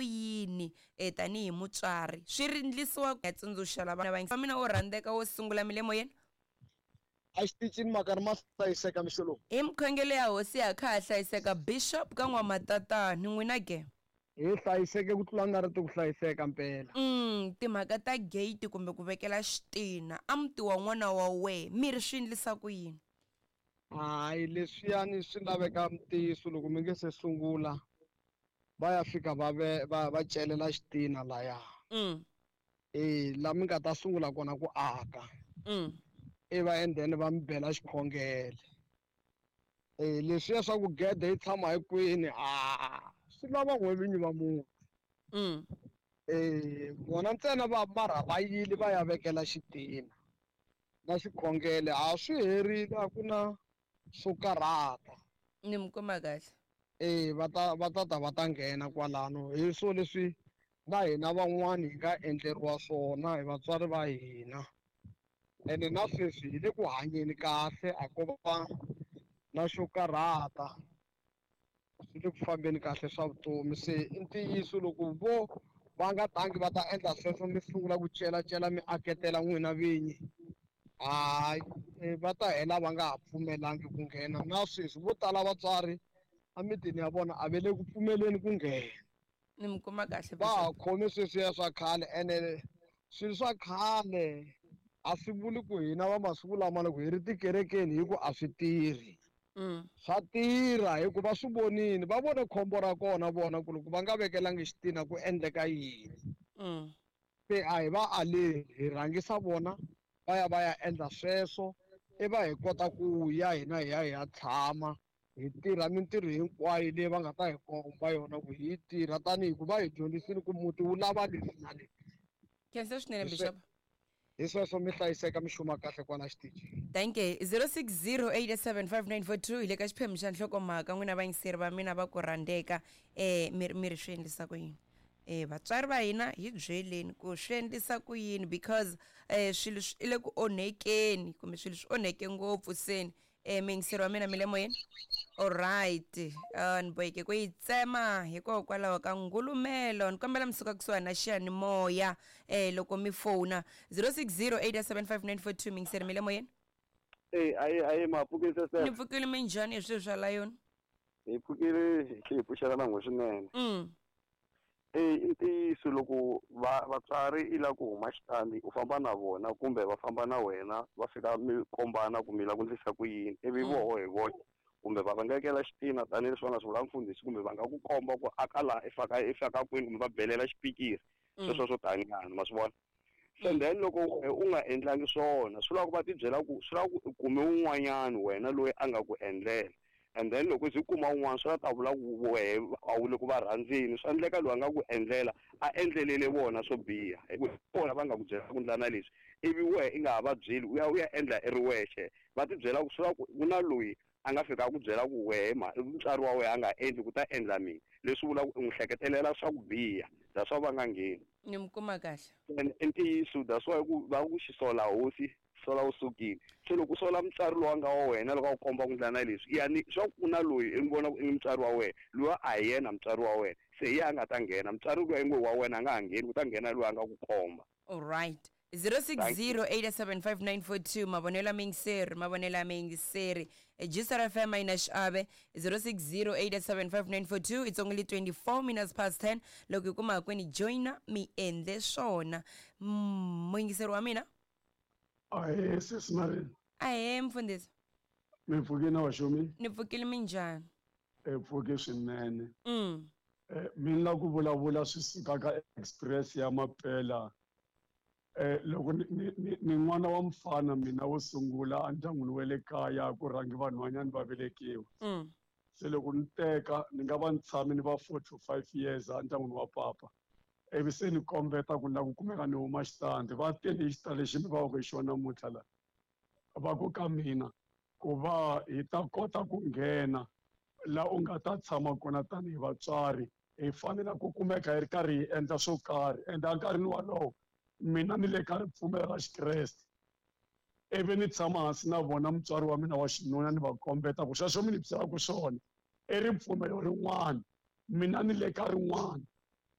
yini tanihi mutswari swi ri ndlisiwa ya tsundzuxa lava va mina wo rhandzeka wo sungula mi le moyeni. A xitichini makari ma hlayiseka mixo lowu. Hi mikhongelo ya hosi ya kha ha hlayiseka bishop ka n'wamatatani n'wina ke. Hi hlayiseke ku tlula nga ri ti ku hlayiseka mpela. Timhaka ta gate kumbe ku vekela xitina a muti wa n'wana wa wehe mi ri swi endlisa ku yini? Hayi leswiyani swi laveka ntiyiso loko mi nge se sungula va ya fika va ve va va celela xitina laya. E la mi nga ta sungula kona ku aka. I va and then va mi bela xikhongelo. E leswiya swa ku gede yi tshama hi kwini a swi lava n'we vinyi va muti. E vona ntsena va mara va yile va ya vekela xitina na xikhongelo a swi herile a ku na swo karhata. Ni mi kuma kahle. E va ta va ta ta va ta nghena kwalano hi swo leswi na hina van'wani hi nga endleriwa swona hi vatswari va hina. Ene na sweswi hi le ku hanyeni kahle a ko va na xo karhata. Swi le ku fambeni kahle swa vutomi se i ntiyiso loko vo va nga tangi va ta endla sweswo mi sungula ku celacela mi aketela n'wina vinyi hayi va ta hela va nga ha pfumelangi ku nghena. Na sweswi vo tala vatswari emitini ya vona a va le ku pfumeleni ku nghena. Ni mi kuma kahle. Va ha khome sweswiya swa khale ene swilo swa khale a swi vuli ku hina va masiku lama loko hi ri tikerekeni hi ku a swi tirhi. Swa tirha hikuva va swi vonile va vone khombo ra kona vona ku loko va nga vekelangi xitina ku endleka yini. Se a hi va aleli hi rhangisa vona va ya va ya endla sweswo i va hi kota ku ya hina hi ya hi ya tshama hi tirha mintirho hinkwayo leyi va nga ta hi komba yona ku hi tirha tanihi ku va hi dyondzisile ku muti wu lava leswi na leswi. Khensa swinene bishop. Hi sweswo mi hlayiseka mi xuma kahle kwala xitichini. Thank you. 0608875942 hi le ka xiphemu xa nhlokomhaka n'wina vayingiseri va mina va ku rhandzeka mi ri swi endlisa ku yini. Vatswari va hina hi byeleni ku swi endlisa ku yini because swilo swi le ku onhekeni kumbe swilo swi onheke ngopfu seni. Muyingiseri wa mina mi le moyeni. Alright, ni boheke ku yi tsema hikokwalaho ka ngulumelo. Ni kombela mi suka kusuhani na xiyanimoya loko mi fona 0608875942 muyingiseri mi le moyeni. Ayi ayi ma pfukile sese. Ni pfukile minjhani hi swilo swa layoni? Hi pfukile hi pfuxela na n'we swinene. I ntiyiso loko vatswari i lava ku huma xitandi u famba na vona kumbe va famba na wena va fika mi kombana ku mi lava ku endlisa ku yini ivi voho hi vona kumbe va vangekela xitina tanihileswi va nga swi vula mfundhisi kumbe va nga ku komba ku aka laha i faka i faka kwini kumbe va belela xipikiri sweswo swo taninyana ma swi vona. So then loko u nga endlangi swona swi lava ku va tibyela ku swi lava ku u kume un'wanyana wena loyi a nga ku endlela and then loko u kuma un'wana swi ta vula ku wehe a wu le ku va rhandzeni swi endleka loyi a nga ku endlela a endlelele vona swo biha hi ku vona va nga ku byela ku ndla na leswi ivi wehe i nga ha va byeli u ya u ya endla i ri wexe va tibyela ku swi lava ku ku na loyi a nga fika a ku byela ku wehe ma mutswari wa wena a nga endli ku ta endla mina leswi vulaka u n'wi hleketelela swa ku biha that's why va nga ngheni. Ni mi kuma kahle. And i ntiyiso that's why ku va ku xisola hosi sola wu sukile se loko u sola mutswari loyi a nga wa wena loko a ku komba ku ndla na leswi yani swa ku na loyi i n'wi vona ku i mutswari wa wena loyi a hi yena mutswari wa wena se hi yena a nga ta nghena mutswari loyi ngo wa wena a nga ha ngheni ku ta nghena loyi a nga ku komba. Alright. 0608875942 mavonelo ya muyingiseri mavonelo ya muyingiseri Gsr FM a yi na xiave 0608875942 it's only 24 minutes past 10 loko hi kuma kwini joina mi endle swona. Muyingiseri wa mina. Ahee sesi Marini. Ahee mfundhisi. Mi pfukile na waxumi? Ni pfukile minjhani? Hi pfuke swinene. Mi ni lava ku vulavula swi suka ka express ya Mapela. Loko ni n'wana wa mfana mina wo sungula endyangwini wa le kaya ku rhangi vanhwanyana va velekiwa. Se loko ni teka ni nga va ni tshame ni va 4 to 5 years endyangwini wa papa. Ivi se ni kombeta ku ni lava ku kumeka ni huma xitandi va tele hi xitandi lexi mi va ku hi xona namuntlha la. Va ku ka mina ku va hi ta kota ku nghena la u nga ta tshama kona tanihi vatswari hi fanele ku kumeka hi ri karhi hi endla swo karhi ende enkarhini wolowo mina ni le ka ripfumelo ra Xikreste. Ivi ni tshama hansi na vona mutswari wa mina wa xinuna ni va kombeta ku sweswo mi ni byelaka swona i ripfumelo rin'wana mina ni le ka rin'wana.